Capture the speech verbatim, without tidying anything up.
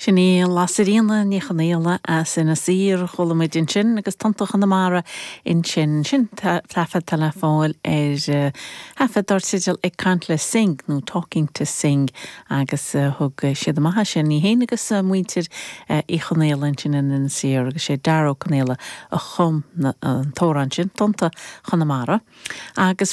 Sin í Lasairfhíona Ní Chonaola as Inis Oírr chuala muid ansin agus Tonnta Chonamara ansin sin taifead le fáil ar thaifead dar teideal ag caint le Synge nó Talking to Synge agus thug siad amach sin í féin agus muintir Uí Chonaola ansin in Inis Oírr agus sé Dara Ó Conaola a chum an t-amhrán sin Tonnta Chonamara. Agus